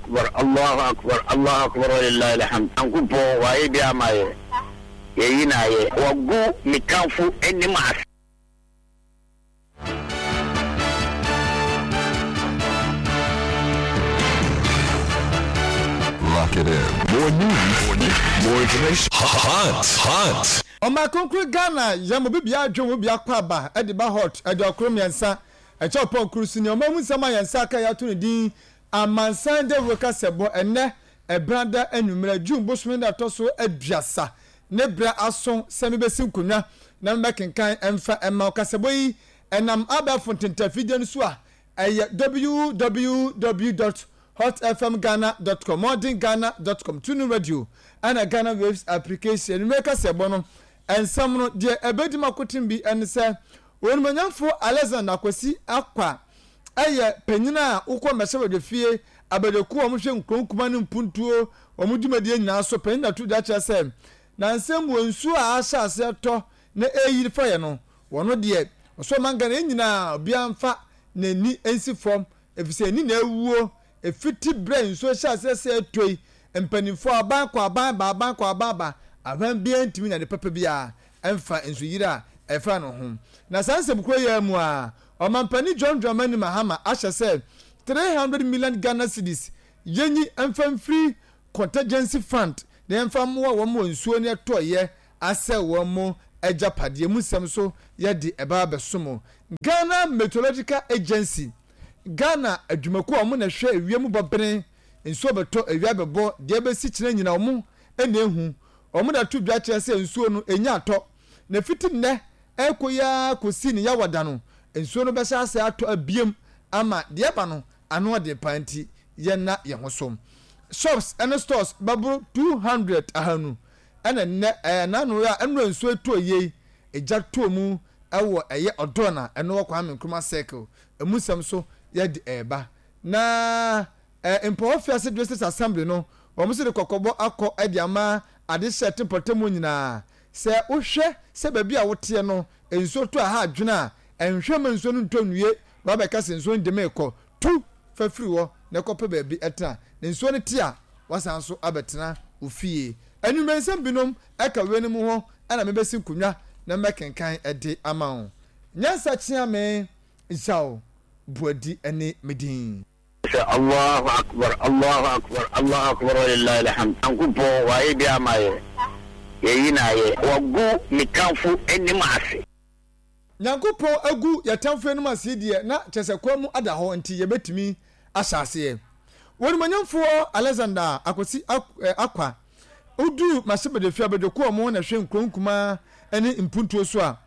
Akbar, Allahu Akbar, Allahu Akbar walillahil hamd. Nyankopɔn wayɛ bi ama yɛ, yɛyi no ayɛ. Wagu me tamfo anim ase. Lock it in. More news, more information. Hot, hot. Ɔman kronkron Ghana yɛ mo bibia adwen wo bia kɔ aba de ba hot aduakoro miɛnsa ɛkyɛ ɔpɔn koro so ni ɔman mu nsɛm a yɛn nsa aka yɛato ne din amansan dawuro kasɛbɔ ɛnnɛ ɛbrada anwummerɛ June bosome da ɛtɔ so aduasa ne berɛ aso sɛ mebɛsi nkonnwa na mebɛkenkan ɛmfa ɛma wo kasɛbɔ yi ɛnam abɛɛfo ntentafidie no so a ɛyɛ www dot hotfmghana dot com, modernghana dot com, TuneIn Radio, ɛna Ghana Waves application. Anwummerɛ kasɛbɔ no nsɛm no, deɛ ɛbɛdi mu akoten bi ne sɛ, Onimuonyamfoɔ Alexander Akwasi Akwa yɛ panyin a wokɔ mmɛhyɛbadwafie abadwakuo a wɔhwɛ nkuro nkuma ne mpuntuo wɔn dwumadie nyinaa so panyin na to dwa kyerɛ sɛ nansa mu nsuo a ahyɛ aseɛ tɔ na ɛreyiri fa yɛ no wɔn deɛ ɔsɔ ɔman Ghana yɛn nyinaa obiara mfa n'ani nsi fam efisɛ ani na awuo efiti berɛ a nsuo hyɛ aseɛ sɛ ɛtɔ yi mpanimfoɔ aban kɔ aban ba aban kɔ aban ba aban biara ntumi nya ne papa biara ɛmfa nsuyiri a ɛfa no ho. Na saa nsɛm koro yi ara mu ara, Ɔmampanin John Dramani Mahama ahyɛ sɛ 300 million Ghana cedis yɛnyi mfa mfiri Contingency Fund na yɛmfa mmoa wɔn wɔ nsuo no ɛtɔeɛ asɛe wɔn agyapadeɛ mu nsɛm so yɛde ɛba abɛsom Ghana Meteorological Agency, Ghana adwumakuo a wɔn na ɛhwɛ ewiem bɔbene, nsuo bɛtɔ, awia bɛbɔ, deɛ ɛbɛsi kyena nyina wɔn na ɛhu. Wɔde ato dwa kyerɛ sɛ nsuo no, ɛnya atɔ, na ɛfiti nnɛ rekɔ yi ara kɔsi ne Yawa da no, nsuo no bɛhyɛ aseɛ atɔ abiem ama deɛ ɛba no ano ɔden paa nti yɛnna yɛn ho so. Shops ne stores bɛboro 200, ahanu, ɛna nnɛ ɛɛ n'ano a ɛnora nsuo ɛtɔ yie egya tɔɔ mu ɛwɔ ɛyɛ Ɔdɔn a ɛno wɔ Kwame Nkrumah Circle emu nsɛm so yɛde ɛɛba na Ɛ Mpɔhɔ Fiase District Assembly no, wɔn nso de kɔkɔbɔ akɔ de ama adehyeɛ te mpɔtam hɔ nyinaa. Sɛ wohwɛ sɛ baabi a woteɛ no nsuo tɔ a ɛha adwene a, nhwɛ mma nsuo no ntɔ nwie na woabɛka sɛ nsuo no de me rekɔ. Tu fa firi hɔ na kɔpɛ baabi tena. Na nsuo no te a, woasan nso abɛtena wo fie. Anwummerɛ nsɛm binom ka weinom ho na mebɛsi nkonnwa na mɛkenkan de ama wo. Nyansa Kyeame Zhao Boadi ne me din. Sɛ Allahu Akbar, Allahu Akbar, Allahu Akbar walillahil hamd. Nyankopɔn wayɛ bi ama yɛ, yɛyi no ayɛ. Wagu me tamfo anim ase. Nyankopɔn agu yɛ tamfo anim ase yi deɛ na kyerɛ sɛ kwan mu ada hɔ nti yɛbɛtumi ahyɛ aseɛ. Onimuonyamfoɔ Alexander Akwasi Akwa woduu Mahyɛbadwafie abadwakuo a wɔn na ɛhwɛ nkuro nkumaa ne mpuntuo so a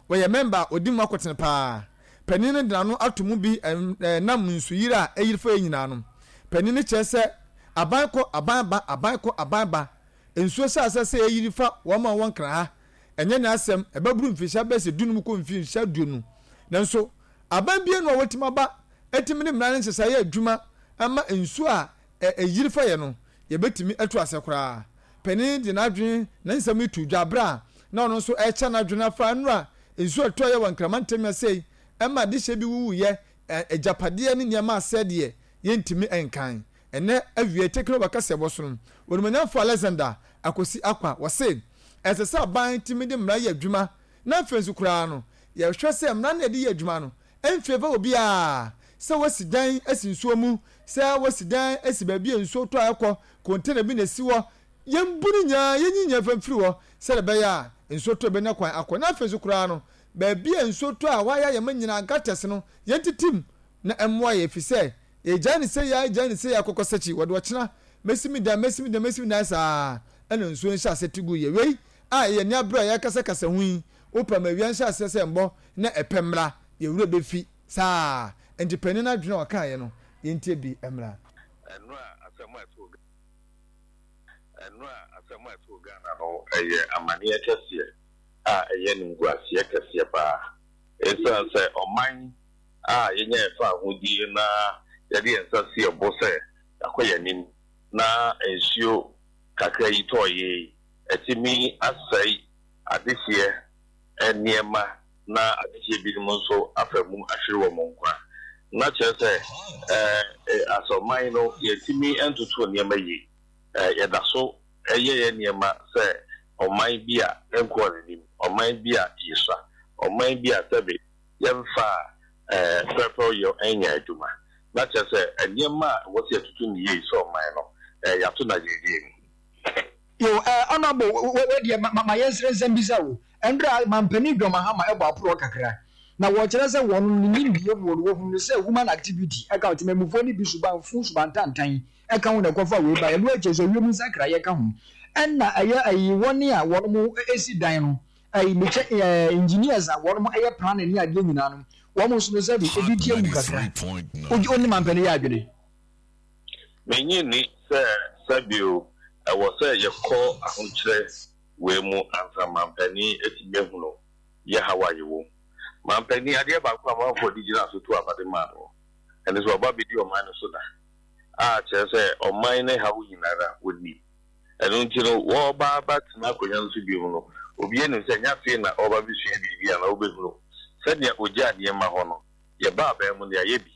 wɔyɛ mɛmba a ɔdi mu akotene paa. Panin no de n'ano ato mu bi nam nsuyiri a ayiri fa yɛn nyinaa no. Panin no kyerɛ sɛ aban kɔ, aban ba, aban kɔ, aban ba. Nsuo hyɛ aseɛ sɛ ɛyiri fa wɔn a wɔwɔ Nkran ha. Ɛnyɛ n'asɛm, ɛbɛboro mfirihyia bɛyɛ sɛ dunum kɔ mfirihyia aduonu. Nanso aban biara nni hɔ a watumi aba atumi de mmara ne nhyehyɛe ayɛ adwuma ama nsuo a ɛyiri fa yɛn no, yɛbɛtumi atu aseɛ koraa. Panin de n'adwene ne nsɛm yi too dwa bere a na ɔno nso rekyɛ n'adwene afa nnora nsu a ɛtɔeɛ wɔ Nkraman ntam asɛe ma adehyeɛ bi wuwuiɛ, agyapadeɛ ne nneɛma asɛe deɛ yɛntumi nkan. Ɛnnɛ awiei Tekno kaseɛbɔ so no, Onimuonyamfoɔ Alexander Akosi Akwa wɔse ɛsɛ sɛ aban tumi de mmara yɛ adwuma na afei nso koraa no yɛhwɛ sɛ mmara no a yɛde yɛ adwuma no mfeeva obiara sɛ wasi dan asi nsuo mu, sɛ wasi dan asi baabi a nsuo tɔ a ɛkɔ, container bi na ɛsi hɔ, yɛmbu no nyinaa, yɛnyi nyinaa mfa mfiri hɔ sɛdeɛ ɛbɛyɛ a nsuo tɔ a ɛbɛnya kwan akɔ. Na afei nso koraa no, baabi a nsuo tɔ a hɔ ayɛ ayɛ ma nyinaa, gutters no, yɛntete mu na ɛmmoa yɛn, ɛfiri sɛ yɛgyae no sei ara, yɛgyae no sei ara kɔkɔsakyi, wɔde ɔkyena, mɛsi me dan, mɛsi me dan, mɛsi me dan saa ara na nsuo no hyɛ aseɛ te gu yɛn. Wei a yɛn ani abere a yɛrekasakasa ho yi, wopɛ ma awia nhyɛ aseɛ sɛ ɛmmɔ na ɛpɛ mmra, yɛn werɛ bɛfi saa. Enti panin no adwene a ɔkaeɛ no, yɛntie bi mmra. Ɛnora asɛm a ɛtoo Ɛnora asɛm a ɛtoo Ghana no yɛ amaneɛ kɛseɛ a ɛyɛ animguaseɛ kɛseɛ paa. Ɛsiane sɛ ɔman a yɛnya yɛn fawohodie na yɛde yɛn nsa si yɛn bo sɛ yɛakɔ yɛn anim na nsuo kakra yi tɔeɛ yi atumi asɛe adehyeɛ nneɛma na adehyeɛ binom nso afa mu ahwere wɔn nkwa. Na kyerɛ sɛ, as ɔman no, yɛntumi ntoto nneɛma yie. Yɛda so yɛ yɛn nneɛma sɛ ɔman bi a ɛnkɔɔ n'anim, ɔman bi a yɛsua, ɔman bi a sɛbe yɛmfaa pɛrpɛwyɔ nyɛ adwuma. Na kyerɛ sɛ, nneɛma a ɛwɔ sɛ yɛtoto no yie sɛ ɔman no, yɛato no agyinagyina mu. Yo eh Honourable wo wo deɛ ma ma yɛnsrɛ nsɛm bisa o. Ɛnberɛ a Mampanin John Mahama ɛbɔ aporɔ kakra na wɔkyerɛ sɛ wɔnom ne nimdeɛ muo no wɔhunu no sɛ human activity ɛka ho, temanmufoɔ no bi suban fuu suban tantan ɛka ho na ɛkɔfa wei baeɛ, ɛno akyire nso wiem nsakraeɛ ka ho ɛna ɛyɛ ɛyi wɔne a wɔnom ɛsi dan no ɛyi mekyɛ ɛɛ engineers a wɔnom ɛyɛ planning ne adeɛ nyinaa no wɔn nso no sɛbi ebi ti awu kakra. Wogye wo ne Mampanin yɛ adwene? Minnye nni sɛ sɛ bio ɛwɔ sɛ yɛkɔ ahokyerɛ wei mu ansa manpanin atumi ahunu yɛ haw a yɛwɔ mu. Manpanin, adeɛ baako a amanfoɔ de gyinaa so too aba de maa no, ɛne sɛ waba abɛdi ɔman no so da, a kyerɛ sɛ ɔman no haw nyinara ɔnim. Ɛno nti no, wɔreba abɛtena akonnwa no so bio no, obiara nim sɛ ɛnyɛ afei na ɔreba abɛsua biribi anaa ɔbɛhunu sɛdeɛ ɔgyaa nneɛma hɔ no, yɛbaa aban mu no yɛayɛ bi.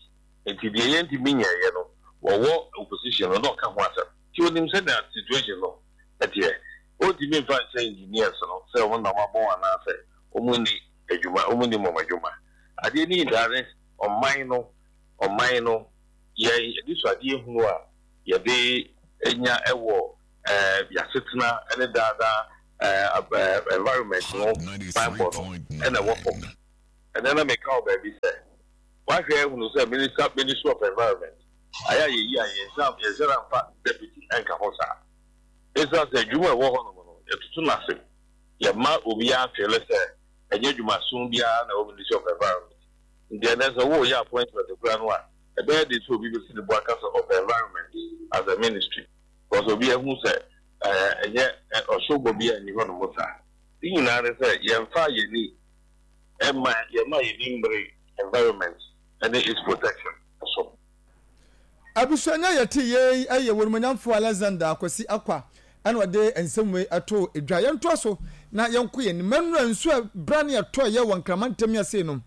Nti deɛ yɛntumi nyɛeɛ no wɔwɔ opposition no na ɔka ho asɛm. Nti ɔnim sɛnea situation no teɛ. Ɔntumi mfa nhyɛ engineers no sɛ wɔn na wɔabɔn anaasɛ wɔnni adwuma, wɔnnim wɔn adwuma. Adeɛ no nyinaa ne ɔman no, ɔman no, yɛn anisoadeɛ hunu a yɛde nya wɔ yɛasetena ne daa daa environment ho banbɔ no na ɛwɔ fam. Ɛnnɛ na meka wɔ baabi sɛ, Wahwɛ ahunu sɛ Minister Ministry of Environment ayɛ a yɛyi a yɛnsan yɛnhyɛ da mfa deputy nka ho saa. Esiane sɛ adwuma a ɛwɔ hɔnom no yɛtoto no ase, yɛmma obiara nfeele sɛ ɛnyɛ adwumason biara na ɛwɔ Ministry of Environment. Nti ɛnnɛ sɛ woreyɛ appointment koraa no a, ɛbɛyɛ den sɛ obi bɛsi ne bo aka sɛ ɔpɛ Environment as a ministry because obiara hu sɛ ɛnyɛ ɔhyɛwbɔ biara nni hɔnom saa. Ne nyinaa ne sɛ yɛmfaa yɛn ani mma yɛmma yɛn ani mmere environment ne its protection so. Abusua nea yɛte yei yɛ Wonumonyamfoɔ Alexander Akwasi Akwa ɛna ɔde nsɛm wei ɛtoo dwa. Yɛntoa so na yɛnkɔ yɛn anim. Mɛnura nsuo a bra ne ɛtɔeɛ wɔ Nkraman ntam yi ase no,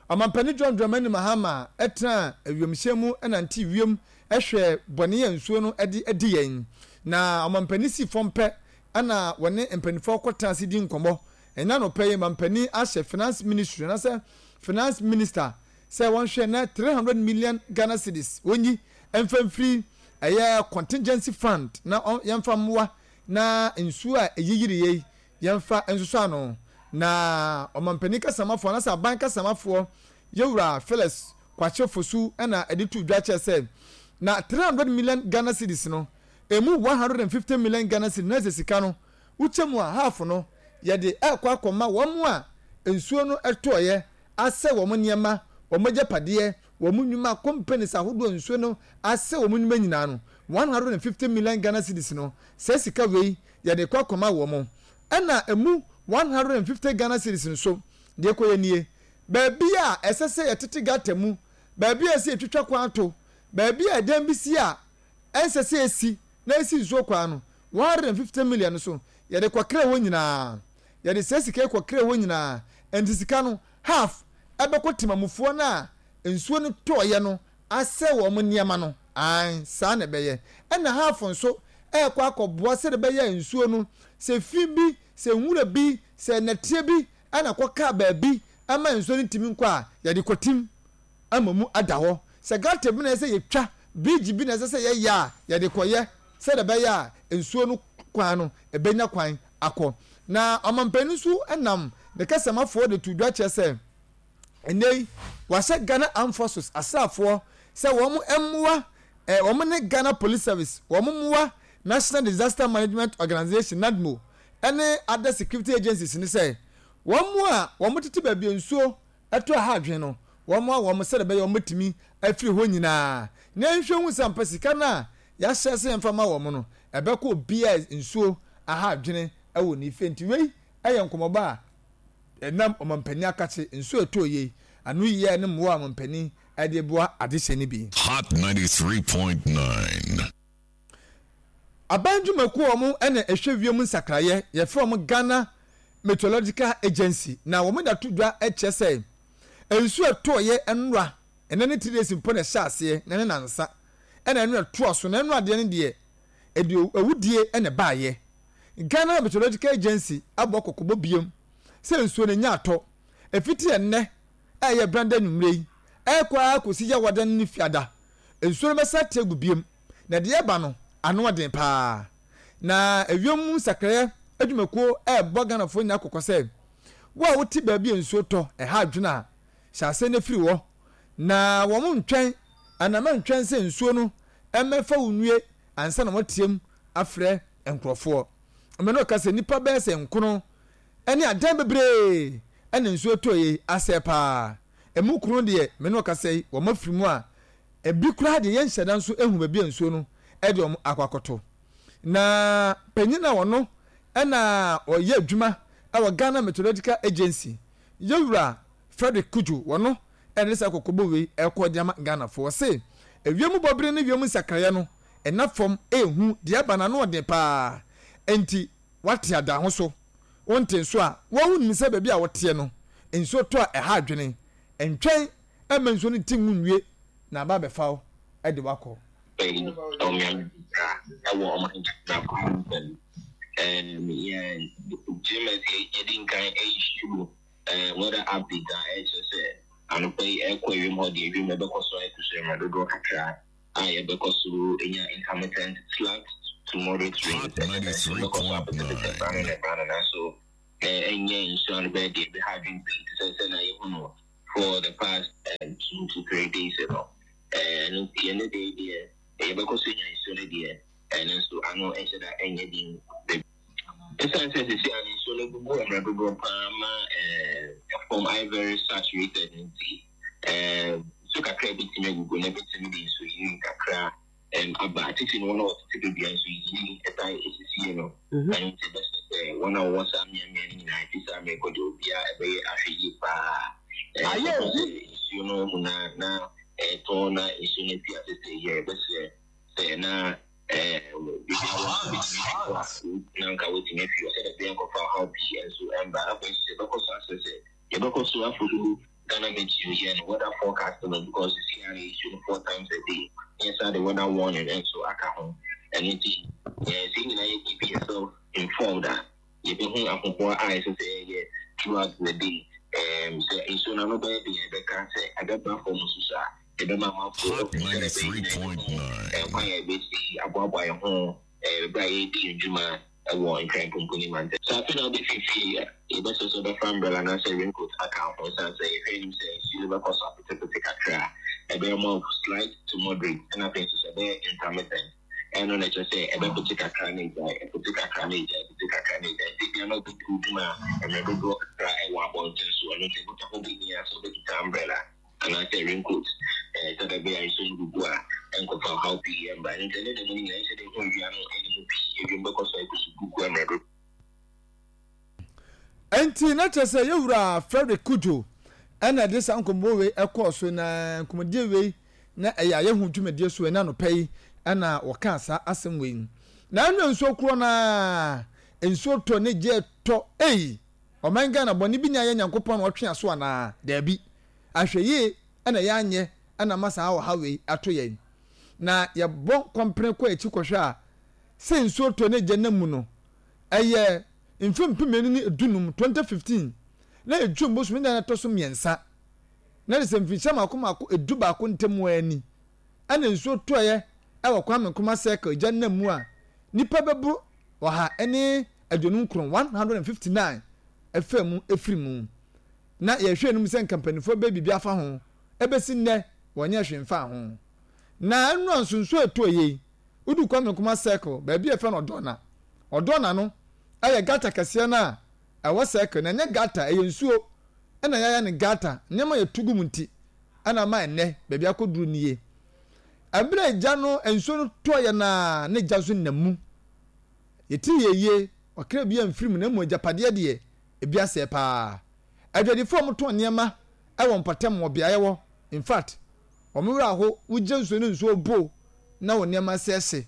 Ɔmampanin John Dramani Mahama tenaa wiemhyɛn mu nantee wiem hwɛɛ bɔne a nsuo no de adi yɛn. Na Ɔmampanin sii fam pɛ ɛna wɔne mpanimfoɔ kɔtena ase di nkɔmmɔ. Ɛnnɛ anɔpa yi, mampanin ahyɛ Finance Ministry anaasɛ Finance Minister sɛ wɔnhwɛ na 300 million Ghana cedis wɔnyi mfa mfiri ɛyɛ contingency fund na yɛmfa mmoa na nsuo a ɛyiyiriiɛ yi yɛmfa nsosɔ ano. Na ɔmampanin kasamafoɔ anaasɛ aban kasamafoɔ Yɛwura Phyllis Kwakye Fosu na ɛde too dwa kyerɛ sɛ na 300 million Ghana cedis no ɛmu 150 million Ghana cedis na ɛsɛ sika no Wokyɛ mu a, half no, yɛde rekɔ akɔma wɔn a nsuo no tɔeɛ asɛe wɔn nneɛma, wɔn agyapadeɛ, wɔn nnwuma, companies ahodoɔ a nsuo no asɛe wɔn nnwuma nyinaa no, 150 million Ghana cedis no, saa sika wei yɛde rekɔ akɔma wɔn. Ɛna ɛmu 150 Ghana cedis nso, deɛ ɛkɔyɛ nie, baabi a ɛsɛ sɛ yɛtete gutter mu, baabi a ɛsɛ sɛ yɛtwitwa kwan to, baabi a ɛdan bi si a ɛnsɛ sɛ ɛsi na ɛsi nsuo kwan no, 150 million no so, yɛde kɔkrɛɛ hɔ nyinaa. Yɛde saa sika yi kɔkrɛɛ hɔ nyinaa. Ɛnti sika no, half ɛbɛkɔ temamufoɔ no a nsuo no tɔeɛ no asɛe wɔn nneɛma no. Aane, saa na ɛbɛyɛ. Ɛna half nso ɛrekɔ akɔboa sɛdeɛ ɛbɛyɛ a nsuo no, sɛ fi bi, sɛ nwura bi, sɛ nnɛteɛ bi na ɛkɔkaa baabi ma nsuo no ntumi nkɔ a, yɛde kɔtim. ama mu ada hɔ. Sɛ gutter bi na ɛsɛ sɛ yɛtwa, bridge bi na ɛsɛ sɛ yɛyɛ a, yɛde kɔyɛ sɛdeɛ ɛbɛyɛ a nsuo no kwan no ɛbɛnya kwan akɔ. Na ɔmampanin nso nam ne kasamafoɔ de too dwa kyerɛ sɛ ɛnnɛ yi wɔahyɛ Ghana Armed Forces asraafoɔ sɛ wɔn mmoa eh, wɔn ne Ghana Police Service, wɔn mmoa National Disaster Management Organization, NADMO, ne other security agencies no sɛ wɔn a wɔtete baabi a nsuo ɛtɔ ɛha adwene no, wɔmmoa wɔn sɛdeɛ ɛbɛyɛ wɔbɛtumi afiri hɔ nyinaa, na yɛnhwɛ nhu sɛ ampa sika no a yɛahyɛ sɛ yɛmfa mma wɔn no, ɛbɛkɔ obiara a nsuo aha adwene wɔ ne fie. Nti wei yɛ nkɔmmɔbɔ a ɛnam ɔmampanin akakye nsuo a ɛtɔɔ yei ano yie ne mmoa a ɔmampanin de boa adehyɛ no bi. Hot 93.9. Aban dwumakuo a wɔn na ɛhwɛ wiem nsakraeɛ, yɛfrɛ wɔn Ghana Meteorological Agency, na wɔn de ato dwa kyerɛ sɛ nsuo a ɛtɔeɛ nnora. Ɛnnɛ ne 3 days mpo na ɛhyɛ aseɛ, na ne nansa ɛna ɛno ɛtoa so, na ɛno adeɛ no deɛ ɛde awudie na ɛbaeɛ. Ghana Meteorological Agency abɔ kɔkɔbɔ biom sɛ nsuo no nya atɔ ɛfiti ɛnnɛ a ɛyɛ Branda anwummerɛ yi ɛrekɔ ara kɔsi Yawada ne Fiada. Nsuo no bɛsan ate agu biom, na deɛ ɛreba no ano ɔden pa ara. Na ewiem mu nsakraeɛ adwumakuo rebɔ Ghanafoɔ nyinaa kɔkɔ sɛ, wo a wote baabi a nsuo tɔ ɛha adwene a, hyɛ aseɛ na firi hɔ. Na wɔn ntwɛn anaa mɛntwɛn sɛ nsuo no mmɛfa wo nwie ansa na wɔateam afrɛ nkurɔfoɔ. Mene ɔka sɛ nnipa bɛyɛ sɛ nkono ne adan bebree na nsuo tɔeɛ yi asɛe paa. Emu kron deɛ me ne ɔkasa yi wɔn afiri mu a ebi koraa deɛ yɛnhyɛ da nso ehu baabi a nsuo no de wɔn akɔ akɔto. Na panyin a ɔno na ɔyɛ adwuma wɔ Ghana Meteorological Agency, Yɛwura Frederick Cudjoe, wɔno na ɛde saa kɔkɔbɔ wei ɛrekɔ de ama Ghanafoɔ. Ɔse ewiem bɔbere ne wiem nsakraeɛ no ɛna fam ɛrehu deɛ ɛba no ano ɔden paa enti wate ada ho so. Wonte nso a, wo ara wunim sɛ baabi a woteɛ no, nsuo tɔ a ɛha adwene. Ntwɛn mma nsuo no nte ngu nwie na aba abɛfa wo de wo akɔ. Eyi ɔmeame kakra wɔ ɔman Ghana kwan nsɛm. Ɛɛm yɛn GMS yɛdi nkan issue ɛɛ weather update a ɛkyerɛ sɛ anɔpa yi ɛkɔ ewiem hɔ deɛ ewiem ɛbɛkɔ so ayɛ kusuu mmerɛ dodoɔ kakra. a yɛbɛkɔ so anya intermittent slight to moderate rains, ɛkyerɛ sɛ nsuo bɛkɔ so apetepete berɛ ano ne berɛ ano, nanso ɛnyɛ nsuo ano bɛyɛ deɛ ɛbɛha adwene pii te sɛ sɛnea yɛhu no for the past 2 to 3 days no. Ɛno nti ɛnnɛ da yi deɛ yɛbɛkɔ so anya nsuo no deɛ, nanso ano nhyɛ da nyɛ den bebree. Esiane sɛ seesei ara nsuo no gugu mmerɛ dodoɔ pa ara ma fam ayɛ very saturated no nti, nsuo kakra a ɛbɛtumi agugu no bɛtumi de nsuoyiri kakra aba. Titiri no wɔn a wɔtete baabi a nsuoyiri taa sisi no. Ɛno nti ɛbɛsrɛ sɛ wɔn a wɔwɔ saa mmeammea no nyinaa, ɛfiri saa mmerɛ kɔ deɛ obiara ɛbɛyɛ ahwɛyie pa ara. Ɛkɔba sɛ nsuo no mu na na ɛretɔ na nsuo no afi ase sɛ ɛyiri a, yɛbɛsrɛ sɛ na Biribi a wɔn nso betumi afi hɔ a, na anka wɔatumi afi hɔ sɛdeɛ ɛbɛyɛ nkɔfa ɔhaw pii nso mma. Afei nso sɛ yɛbɛkɔ so asrɛ sɛ yɛbɛkɔ so afollow Ghana Meteo yɛn weather forecast no because seesei ara yɛ issue no four times a day na yɛsan de weather warning nso aka ho. Ɛno nti sɛ yɛn nyinaa yɛ keep yourself informed a, yɛbɛhu ahoboa a ɛsɛ sɛ yɛyɛ throughout the day. Sɛ nsuo no ano bɛyɛ den a, yɛbɛka sɛ ɛbɛba fam nso so a, yɛbɛma amanfoɔ ahu sɛdeɛ ɛbɛyɛ nyinaa yɛbɛhu kwan a yɛbɛsi aboaboa yɛn ho berɛ a yɛredi yɛn dwuma wɔ Nkran Pumpuni mantam. Sɛ afei na wobɛfiri fie a, yɛbɛsrɛ sɛ wobɛfa umbrella anaasɛ raincoat aka wo ho ɛsiane sɛ yɛhwɛ anim sɛ nsuo no bɛkɔ so apetepete kakra a, ɛbɛyɛ more of slight to moderate ɛna afei nso sɛ ɛbɛyɛ intermittent. Ɛno na ɛkyerɛ sɛ ɛbɛpete kakra na agyae, ɛpete kakra na agyae, ɛpete kakra na agyae. Nti ebia na wobɛdi wo dwuma mmerɛ dodoɔ kakra wɔ abɔnten so, ɛno nti ɛho bɛhia sɛ wobɛkita umbrella. anaasɛ raincoat, sɛdeɛ ɛbɛyɛ a nsuo no gugu a, ɛnkɔfa ɔhaw pii mma. Ɛno nti, ɛnnɛ da mu no nyinaa, ɛnsɛ dɛ ɛhu awia no anim pii, ewiem bɛkɔ so ayɛ kusuu gugu mmerɛ dodoɔ. Enti na kyerɛ sɛ yɛn wura Frederick Cudjoe na ɛde saa nkɔmmɔ wei kɔɔ so, na nkɔmmɔdie wei na ɛyɛ ayɛho dwumadie so ɛna anɔpa yi na wɔkaa saa asɛm wei. Na ɛno nsuo korɔ no ara, nsuo tɔ ne gyeɛ tɔ, ei! Ɔman Ghana bɔne bi na ayɛ Nyankopɔn na ɔtwe aso anaa? Daabi. Ahwɛyie na yɛanyɛ na ama saa ɔhaw wei ato yɛn. Na yɛbɔ kɔmpene kɔ akyi kɔhwɛ a, sɛ nsuo tɔ ne gya nam mu no, ɛyɛ mfe 2015, 2015, na ɛyɛ June bosome da a ɛtɔ so mmiɛnsa, na de sɛ mfirihyia mmaako mmaako 11 ntam ara ni, ɛna nsuo tɔeɛ wɔ Kwame Nkrumah Circle gya nam mu a nnipa bɛboro 159, 159, faa mu firi mu. Na yɛhwɛ anim sɛ nka mpanimfoɔ bɛyɛ biribi afa ho, ɛbɛsi nnɛ wɔnyɛɛ hwee mfaa ho. Na nnora nso nsuo a ɛtɔɔ yei, wodu Kwame Nkrumah Circle, baabi a yɛfrɛ no Ɔdɔna. Ɔdɔna no yɛ gutter kɛseɛ no a ɛwɔ circle, na ɛnyɛ gutter, ɛyɛ nsuo na yɛayɛ no gutter, nneɛma a yɛtu gu mu nti na ama ɛnnɛ baabi akɔduru nie. Ɛberɛ a gya no, nsuo no tɔeɛ no ara na gya nso nam mu. Yɛtiri yɛ yie, ɔkra bi amfiri mu na mmom agyapadeɛ deɛ, ebi asɛe paa. Adwadifoɔ a wɔtɔn nneɛma wɔ mpɔtam wɔ beaeɛ hɔ, in fact, wɔn werɛ aho, wogye nsuo no nsuo bo na wɔn nneɛma asɛe hye.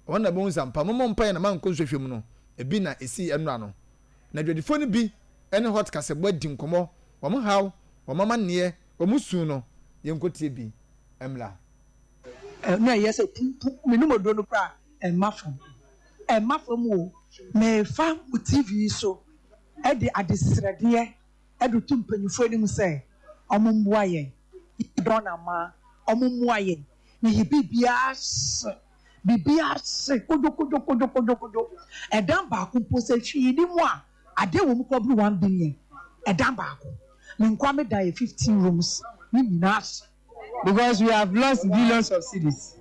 Wɔn na bɛhu sɛ ampa mommɔ mpaeɛ na moankɔ nsuohwɛ mu no, ebi na ɛsii ɛnnora no. Na adwadifoɔ no bi ne Hot Kasɛbɔ adi nkɔmmɔ, wɔn haw, wɔn amanneɛ, wɔn su no, Yɛnkɔtie bi mmra. Na ɛyɛ sɛ pumpu menom oduro no koraa a ɛmma fam. Ɛmma fam o. Mefa mo TV yi so de adesrɛdeɛ de to mpanyinfoɔ anim sɛ wɔn mmoa yɛn. Yɛdɔn amaa wɔn mmoa yɛn. Na yɛ biribiara hye. Biribiara hye kodwokodwokodwokodwo. Ɛdan baako mpo sɛ hwee nni mu a, adeɛ wɔ mu koraa boro one billion. Ɛdan baako. Me nkoa me dan yɛ 15 rooms. Ne nyinaa hye. Because we have lost billions of cedis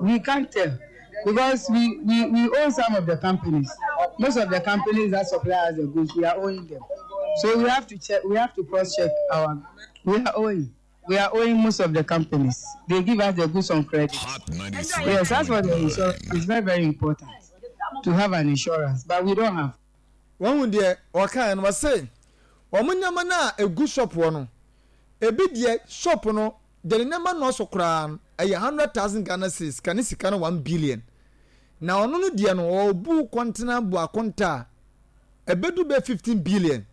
we can't tell because we we we own some of the companies most of the companies that supply us the goods we are owing them so we have to check we have to cross check our we are owing we are owing most of the companies they give us the goods on credit yes that's what the insurance is very very important to have an insurance but we don't have. Wahu deɛ ɔkaeɛ no? Ɔse wɔn nneɛma no a ɛgu shop hɔ no, ebi deɛ shop no deɛ ne nneɛma nnɔɔso koraa no, ɛyɛ 100,000 Ghana cedis, ka ne sika no 1 billion. Na ɔno no deɛ no, ɔbu kɔntena bu akonta a, ɛbɛdu bɛ 15 billion.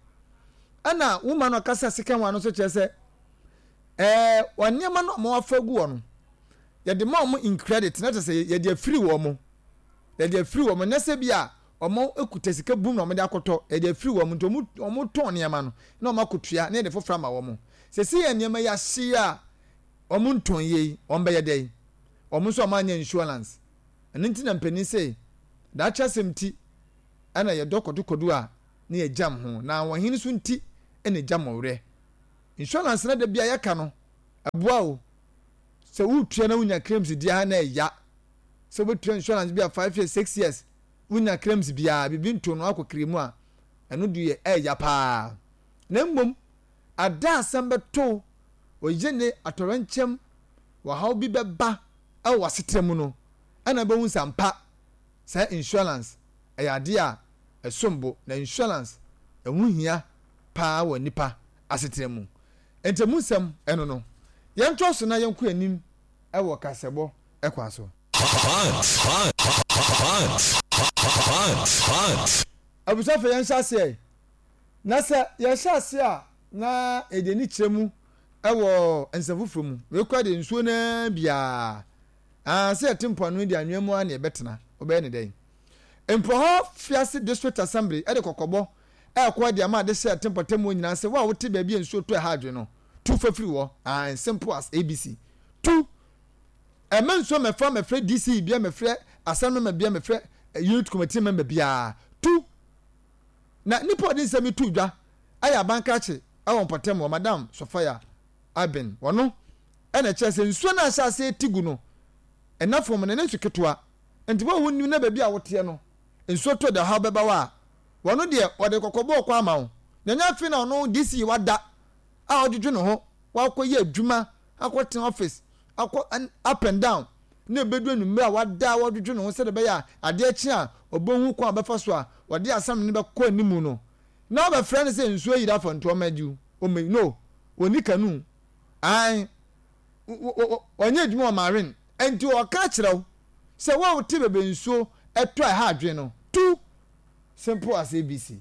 Ɛna woman no ɔkasa sika ho ano nso kyerɛ sɛ, ɛɛ wɔn nneɛma no a wɔafa agu hɔ no, yɛde ma wɔn in credit, na kyerɛ sɛ yɛde afiri wɔn. Yɛde afiri wɔn, nyɛ sɛ bi a wɔkuta sika bum na wɔde akɔtɔ, yɛde afiri wɔn nti wɔtɔn nneɛma no na wɔakɔtua na yɛde foforɔ ama wɔn. Sɛsei yɛ nneɛma yi ahye a wɔntɔn yie yi, wɔbɛyɛ dɛn? Wɔn nso wɔanyɛ insurance. Ɛno nti na mpanin se daakye asɛm nti ɛna yɛdɔ kɔdokɔdo a na yɛgyam ho, na ahoɔhen nso nti na ɛgyam ɔwerɛ. Insurance no da bi a yɛka no, ɛboa o. Sɛ wotua na wonya claims di ara na ɛya. Sɛ wobɛtua insurance bi a 5 years, 6 years, wonya claims biara, biribi nto no akɔ kiri mu a, ɛno deɛ ɛya paa. Na mmom, ada asɛm bɛto oye ne atɔrɛnkyɛm wɔhaw bi bɛba ɛwɔ w'asetena mu no, ɛna bɛhu sɛ ampa saa insurance ɛyɛ adeɛ a ɛsom bo, na insurance ɛho hia paa wɔ nipa asetena mu. Nti emu nsɛm ɛno no, yɛntoa so na yɛnkɔ anim ɛwɔ kasɛbɔ ɛkwan so. Hot, hot, hot, hot, hot. Abusuafo yɛnhyɛ aseɛ. Na sɛ yɛhyɛ aseɛ a na yɛde ani kyerɛ mu wɔ nsɛm foforɔ mu. Wei koraa deɛ nsuo no ara biara. Ah, sɛ yɛte mpoano yi deɛ anwea mu ara na yɛbɛtena. Wobɛyɛ ne dɛn? Mpohɔ Fiase District Assembly de kɔkɔbɔ ɛrekɔ de ama adehyeɛ a ɛte mpɔtam hɔ nyinaa sɛ wo a wote baabi a nsuo tɔ ɛha adwene no, tu fa firi hɔ. Ah, simple as ABC. Tu! Ɛmma nsuo mmɛfa mmɛfrɛ DC bia mmɛfrɛ assembly member bia mmɛfrɛ unit committee member biara. Tu! Na nipa a ɔde nsɛm yi too dwa yɛ abankrakye wɔ mpɔtam hɔ, Madam Sophia Aben. Ɔno na ɛkyerɛ sɛ nsuo no a ahyɛ aseɛ reti gu no, ɛna fam no, ɛnyɛ nsu ketewa. Nti wo a wonnim na baabi a woteɛ no, nsuo tɔ de ɔhaw bɛba wo a, wɔno deɛ wɔde kɔkɔbɔ rekɔ ama wo. Na ɛnyɛ afei na ɔno DC wada a ɔdwodwo ne ho, wakɔyɛ adwuma, akɔtena office, akɔ up and down, na ɛbɛdu anwummerɛ a wada a ɔdwodwo ne ho sɛdeɛ ɛbɛyɛ a adeɛ kye a ɔbɛhu kwan a ɔbɛfa so a wɔde asɛm no bɛkɔ anim no, na wɔbɛfrɛ no sɛ nsuo ayiri afa nti ɔmmɛgye wo, ɔmmɛyi, no, ɔnni canoe, ae, ɔnyɛ adwuma wɔ marine, nti ɔka kyerɛ wo sɛ wo a wote baabi a nsuo tɔ a ɛha adwene no, tu! Simple as ABC.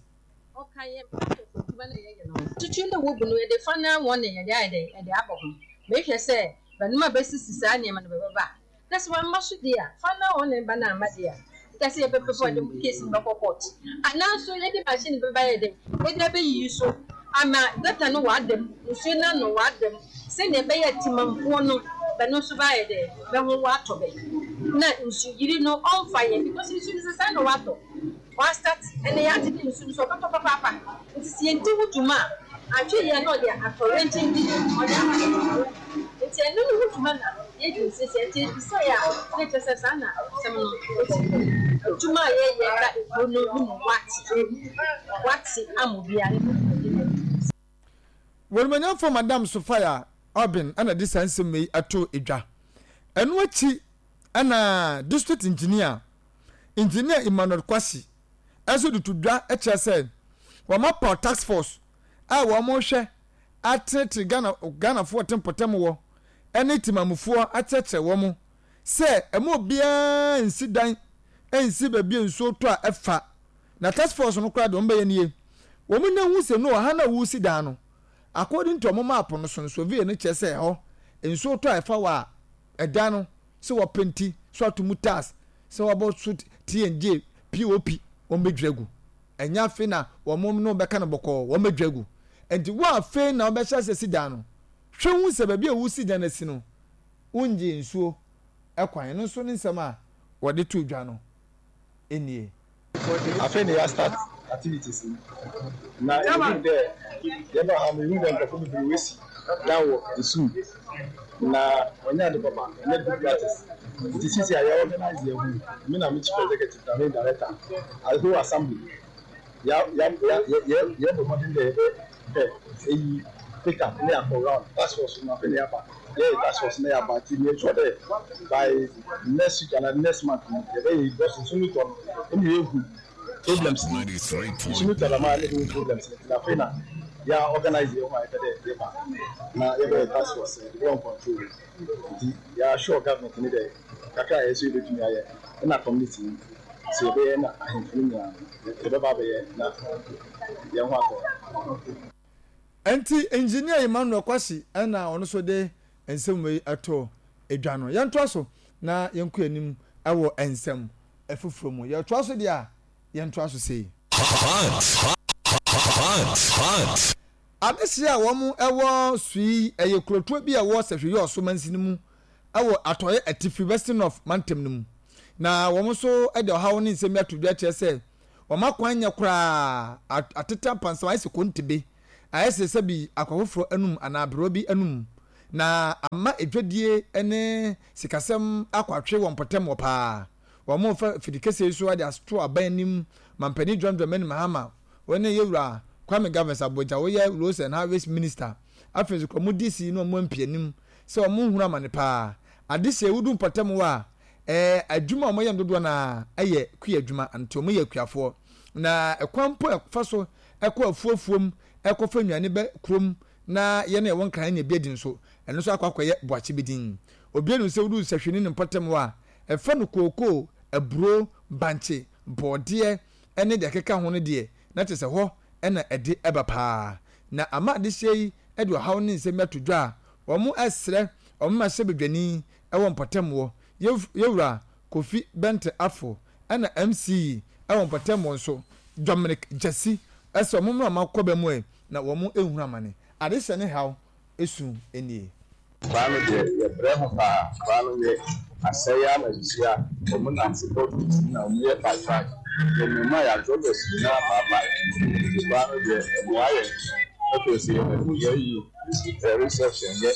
Ɔka yɛn process adwuma no a yɛyɛ no ho. Tutu na wobu no yɛde fa na wɔn na yɛde ayɛ dɛn yɛde abɔ ho. Mehwɛ sɛ bɛnom a bɛsisi saa nneɛma no bɛbɛba a. Na sɛ wɔamma so deɛ a, fa na wɔn na ɛba no amma deɛ a, nka sɛ yɛbɛpɛ sɛ wɔde case no bɛkɔ court. Anaa nso yɛde machine bɛba yɛ dɛn yɛde abɛyiyi so ama gutter no wɔada mu, nsuo no ano wɔada mu sɛdeɛ ɛbɛyɛ a temamfoɔ no bɛno nso bɛayɛ dɛn bɛho wɔatɔ bɛ na nsuyiri no ɔmfa yɛn because nsuo no sɛ saa na wɔatɔ. Wɔastart ɛnɛ yɛate dɛ nsu no so ɔbɛtɔ papaapa ntsi sɛ yenndzi ho dwuma a annhwɛ yie a na ɔdze atɔwrɛnkyɛm bi ɔdze aba abɛto hɛn do. Ntsi ɛno no ho dwuma na yedzi no sesei ntsi ebisae a na kyerɛ sɛ saa na asɛm no osi kɔ. Edwuma a yɛyɛ ba ekurow no no mu wɔatse wɔatse ama obiara no ho dwumadzi na yedzi. W'Animuonyamfoɔ Madam Sophia Albin na de saa nsɛm yi too dwa. Ɛno akyi na District Engineer Engineer Emmanuel Kwasi nso de to dwa kyerɛ sɛ wɔapaw task force a wɔrehwɛ atenetene Ghana Ghanafoɔ wɔte mpɔtam wɔ ne temamufoɔ akyerɛkyerɛ wɔn sɛ ɛma obiara nsi dan nsi baabi a nsuo tɔ a ɛfa na task force no koraa deɛ wɔbɛyɛ nie wɔn nya hu sɛ no ɔha no a wɔresi dan no according to wɔn map no so no survey no kyerɛ sɛ ɛhɔ nsuo tɔ a ɛfa wɔ a ɛdan no sɛ wɔpenti so ato mu tiles sɛ wɔabɔ so T&J, POP wɔn bɛdwiri agu. Ɛnyɛ afei na wɔn ne wɔbɛka no bɔkɔɔ wɔn bɛdwiri agu. Nti wo afei na wɔbɛhyɛ ase asi dan no hwɛ hu sɛ baabi a wosi dan no asi no wongye nsuo kwan. Ɛno nso ne nsɛm a wɔde too dwa no nie. Afei na yɛ start activities no na yehun dɛ yɛba ha no yehun dɛ nkorɔfo beberee woesi dan wɔ nsu mu na ɔnnyɛ ade papa, ɔnnyɛ good practice ntsi sesei a yɛ organise hɛnho yi, emi na me chief executive na me director as whole assembly ya ya ya yɛ yɛbɔ mbɔdzen dɛ yɛbɛ pɛ eyi pick up na yɛakɔ round task force no afei na yɛaba yɛyɛ task force na yɛaba ntsi make sure dɛ by next week anaa next month no yɛbɛyɛ yi because nsu no tɔ no nna yehu problems no nsu no tɔ dɛm a nna yehu problems no ntsi na afei na yɛ organise hɛnho a yɛpɛ dɛ yɛba na yɛbɛyɛ task force yɛdze bɔ control ntsi yɛ assure government no dɛ kakra a hɛn so yebetumi ayɛ na community no sɛ yɛbɛyɛ na ahemfo no nyinaa no yɛbɛba abɛyɛ na hɛn ho atɔ hɛn. Enti Engineer Emmanuel Kwasi na ɔno nso de nsɛm wei to dwa no. Yɛntoa so na yɛnkɔ anim wɔ nsɛm foforɔ mu. Yɛtoa so deɛ a, yɛntoa so sei. Hot, hot, hot. Adehyeɛ a wɔn wɔ Sui yɛ kurotoɔ bi a ɛwɔ Sahwi-Yɔɔso mansini mu wɔ Atɔeɛ Atifi, Western North, mantam no mu. Na wɔn nso de ɔhaw ne nsɛm yi ato dwa kyerɛ sɛ wɔn akwan nyɛ koraa, atete apansam, ayɛ sɛ kontebe, ayɛ sɛ sɛbi akwa foforɔ anum anaa aberewa bi anum, na ama edwadie ne sikasɛm akɔ atwe wɔn mpɔtam hɔ paa. Wɔrefa afidikɛseɛ yi so de ato aban anim, Mampanin John Dramani Mahama, wɔne Yɛwura Kwame Governs Agbodza, ɔyɛ Roads and Highways Minister, afei nso kura wɔn DC ne wɔn MP anim sɛ wɔnhunu amane paa. Adesua yi, wodu mpɔtam hɔ a, ɛɛ adwuma a wɔyɛ no dodoɔ no ara yɛ kua adwuma, nti wɔyɛ akuafoɔ. Na ɛkwan mpo a ɛfa so kɔ afuo afuom kɔfa nnuane ba kurom na yɛn a yɛwɔ Nkran anya bi adi nso, ɛno nso akɔ akɔyɛ boakye bi din. Obiara nim sɛ wodu Sahwi ne ne mpɔtam hɔ a, ɛfa no kookoo, aburo, bankye, bɔɔdeɛ ne deɛ ɛkeka ho no deɛ, na kyerɛ sɛ hɔ na ɛde ba paa. Na ama adehyeɛ yi de ɔhaw ne nsɛm yi ato dwa a, wɔsrɛ wɔn mmarahyɛbadwani wɔ mpɔtam hɔ, Yɛwura Kofi Bente Afful ɛna MC yi wɔ mpɔtam hɔ nso, Dominic Gyasi, sɛ wɔn mmra wɔn akɔba mu ɛ na wɔn nhunu amane. Adehyɛ ne haw su nie. Kwaa no deɛ yɛ brɛ ho paa kwaa no yɛ asɛe ara na sisi a wɔn nante kɔ titi na wɔn yɛ pae pae yɛ nneɛma yɛ adrɔbɛs nyinaa paapae nti kwaa no deɛ ɛmoa yɛn afei sɛ yɛ bɛto yɛ yi yɛ reception yɛ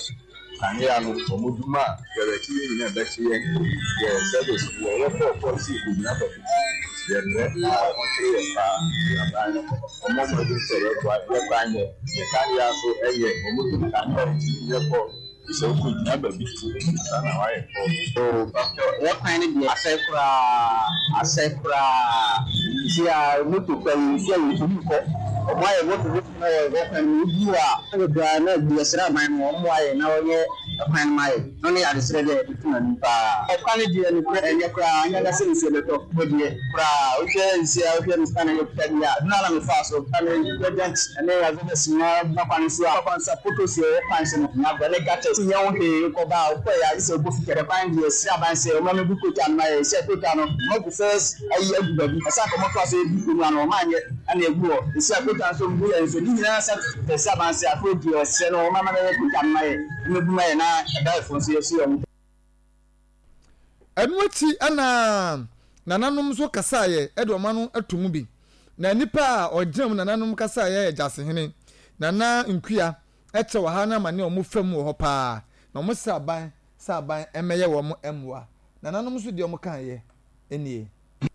kanea no wɔn dum a yɛrɛkye yɛ nyinaa ɛbɛkye yɛn yɛ service yɛ yɛ kɔɔ kɔɔ si yɛ kɔgyina baabi yɛ brɛ na wɔn kyerɛ yɛn paa yɛ aban no. Wɔmmɔ mmɔden sɛ wɔbɛboa yɛn kwan nyɛ yɛn kanea nso nyɛ wɔn dum kanea a ɛtumi yɛ kɔ gye sɛ wokɔgyina baabi ansa na woayɛ kɔ. Oh pastor yɛ kwan no deɛ asɛe koraa asɛe koraa nti a moto kura yɛn nsu a yɛntumi nkɔ ɔmo ayɛ moto moto na wɔ wɔ kwan no mu wodu hɔ a na bebree a na yɛsrɛ aban no wɔn mmoa yɛn na wɔnyɛ ɛkwan no ma yɛn. No ne adesrɛ deɛ yɛde to n'anim paa. Ɔkwan no deɛ nokorɛ ɛnyɛ koraa anyɛ na sɛ nsuo bɛtɔ mpo deɛ koraa wohwɛ nsuo a wohwɛ me sika na yɛkuta deɛ a ɛno ara na mefaa so na me president ɛne Azovers nyinaa gyina kwan no so a kwan so a potholes ɛwɔ kwan so no nyɛ agorɔ ne gutters nyɛ ho hwee wokɔ ba a wokɔ yɛ a gye sɛ wobɔ fi kɛkɛ kwan deɛ srɛ aban sɛ wɔmmra mmɛgu kota no ma yɛ sɛ kota no wɔagu first ayi agu baabi ɛsɛ anka wɔtoa so gu kurom ano wɔn anyɛ ɛna egu hɔ esi a kota nso gu yɛ nso ne nyinaa sɛ sɛ aban sɛ afei deɛ ɔsrɛ no wɔmmra mmɛyɛ kota no ma yɛ. Ɛno akyi na nananom nso kasaeɛ de wɔn ano to mu bi. Na nnipa a ɔgyina mu nananom kasaeɛ yɛ Gyasehene, Nana Nkuya, kyerɛ ɔhaw ne amane a wɔfa mu wɔ hɔ paa, na wɔsrɛ aban sɛ aban mmɛyɛ wɔn mmoa. Nananom nso deɛ wɔkaeɛ nie.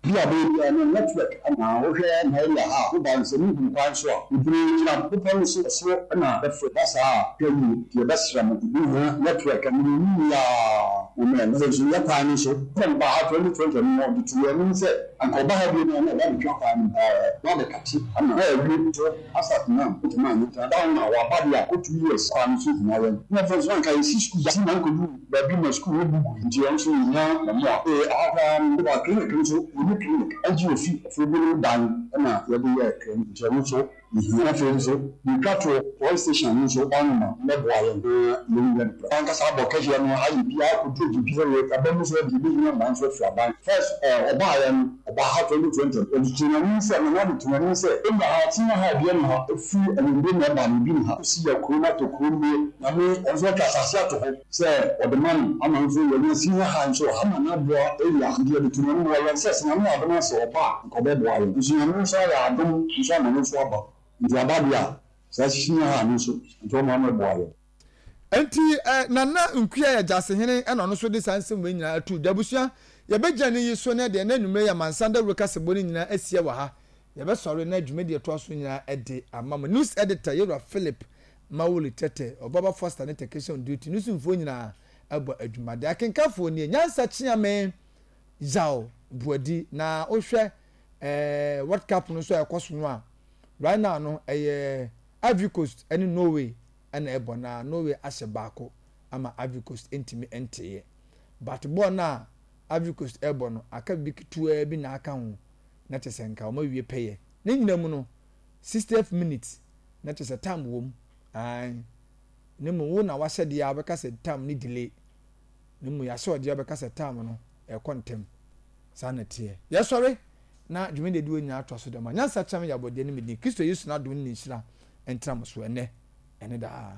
Bi a bɛyɛ biara no network na wohwɛ na area ha a woba no sɛ wohu kwan so a bebree gyina bepɔ no so soro na bɛfrɛ ba saa a hwɛ yie nti yɛbɛsrɛ mo yɛbɛhia network no mu yie aa amen afei nso yɛ kwan no nso na mebaa ha 2020 no ɔde too yɛn anim sɛ anka ɔba ha bio no a na ɔba abɛtwa kwan no paa na abɛkate ama na yɛawie so asap na ɔtumi anyɛ nti ada ho na waba deɛ a kɔ 2 years kwan no so hia yɛn na afei nso na anka yɛsi sukuu si na ankɔduru baabi ma sukuu no bu gui nti ɛno nso yɛhia mmoa. Ee, aha koraa no, woba clinic nso. Yɛnni clinic, agye ofi afuro binom dan na yɛde yɛ clinic nti ɛno nso yɛhia. Afei nso yɛtwa toɔ, police station no nso ɔnoma mmɛboa yɛn na yɛnyɛ no prɛko. Ankasa abɔ kɛseɛ no ayɛ biara akɔduru biribi sɛ yɛ aba mu sɛ yɛbɛhia mmoa nso afiri aban. First ɔbaeɛ no ɔbaa ha 2020 ɔde too n'anim sɛ Nana de too n'anim sɛ ɛnna ha ɔtena ha obiara nni ha ɛfiri anwummere na ɛba no obi nni ha kɔsi yɛ kuro no atɔ kuro no wie Nyame ɔno nso atwa asase ato hɔ. Sɛ ɔde ma no ama nso yɛnya senior high nso wɔ ha ma no aboa area nti yɛde to Nyame wɔ yɛn sɛ sɛ Nyame yɛ adom a sɛ ɔba a nka ɔbɛboa yɛn nso Nyame nso ayɛ adom nso ama no nso aba nti aba deɛ a saa senior high no nso nti ɔma no boa yɛn. Enti eh, Nana Nkuya yɛ Gyasehene ɛna ɔno nso de saa nsɛm wei nyinaa ato dwa. Abusua, yɛbɛgyina ne yi so na deɛ na anwummerɛ yi amansan dawuro kasɛbɔ no nyinaa asia wɔ ha. Yɛbɛsɔre na dwumadie a ɛtoa so nyinaa de ama mo. News Editor, Yɛwura Philip Mawuli Tete, Ɔbaba Foster ne Technician on Duty no somfoɔ nyinaa bɔ adwuma. Deɛ akenkanfoɔ nie, Nyansa Kyeame Yaw Boadi. Na wohwɛ eh, World Cup no nso a ɛkɔ so no a, right now no ɛyɛ Ivory Coast ne Norway na ɛbɔ na Norway ahyɛ baako ama Ivory Coast ntumi nteeɛ. But bɔɔl no a Ivory Coast ɛrebɔ no, aka biribi ketewaa bi na aka ho na kyerɛ sɛ nka wɔn awie pɛyɛ. Ne nyinaa mu no, 60th minute na kyerɛ sɛ tam wom ae na mmom wo na wahyɛ deɛ a wobɛka sɛ tam ne delay na mmom yɛahyɛ ɔdeɛ a wobɛka sɛ tam no ɛkɔ ntɛm saa na ɛteɛ yɛsɔre na dwumadi adi wɔ nyinaa atoa so dɛm a nyansa kyerɛ me yɛ abɔdeɛ ne medin Kristo Yesu n'adom ne ne nhyira ntra mo so ɛnɛ ɛne daa.